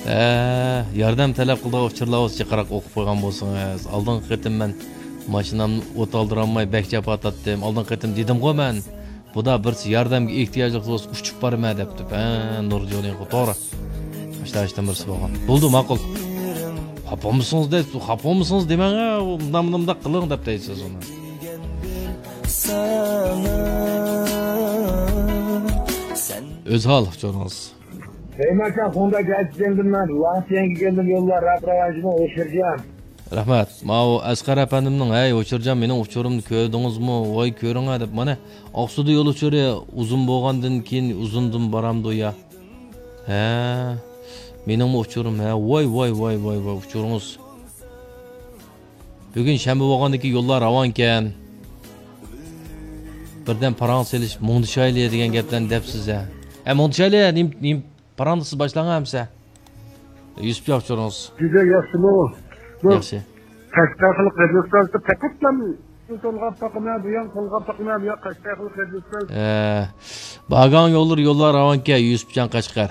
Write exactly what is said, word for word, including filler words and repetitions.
ھە، ياردەم تەلەپ قىلىدىغان ئۇچۇرلار بولسا جىقراق ئوقۇپ قويغان بولسىڭىز. ئالدىنقى قېتىم مەن ماشىنامنى ئوت ئالدۇرالماي بەك جاپا تارتتىم. ئالدىنقى قېتىم دېدىمغۇ مەن. بۇدا بىرسى ياردەمگە ئېھتىياجلىق بولسا ئۇچۇپ بارىمەن دەپتۇ. ھە، نۇرجاننىڭ توغرا. ئاشۇنداق ئىشتىن بىرسى بولغان. بولدى، ماقۇل. خاپا بولمىسىڭىز دەپ، خاپا بولمىسىڭىز دېمەڭ، ھە، مۇنداق مۇنداق قىلىڭ دەپ دەيسىز ئۇنى. ئۆزھال ئۇچۇرىڭىز. رەھمەت، شۇنداق گەرچىكەندىن مەن ۋاڭسىيەنگە كەلدىم، يوللار راپ راۋانچىمۇ ئوشۇرجان. رەھمەت. ماۋۇ ئەسقەر ئەپەندىمنىڭ، ھەي، ئوچۇرجان، مېنىڭ ئۇچۇرۇمنى كۆردىڭىزمۇ؟ ۋاي، كۆرۈڭە دەپ، مانا، ئاقسۇدا يول ئۇچۇرى ئۇزۇن بولغاندىن كېيىن ئۇزۇندىن بارامدۇ يا؟ ھە، مېنىڭمۇ ئۇچۇرۇم، ھە، ۋاي، ۋاي، ۋاي، ۋاي، ۋاي، ئۇچۇرىڭىز. بۈگۈن شەنبە بولغاندىكىن يوللار راۋانكەن. بىردەم پاراڭ سېلىش، مۇڭدىشايلى دېگەن گەپلەرنى دەپسىز ھە. ھە، مۇڭدىشايلى، نېمە، نېمە پاراڭدا سىز باشلاڭ ھەمسە. يۈسۈپ ياخشى تۇرۇڭىز. جۈدە ياخشىمۇ؟ بۇ ياخشى. قەشقەر خەلق رادىيوسىدا پەقەتلا تولغاپ باقىمەن، بۇ يان تولغاپ باقىمەن، بۇ يان قەشقەر خەلق رادىيوسىدا. ئە، بارغان يوللار، يوللار راۋانكەن، يۈسۈپجان قەشقەر.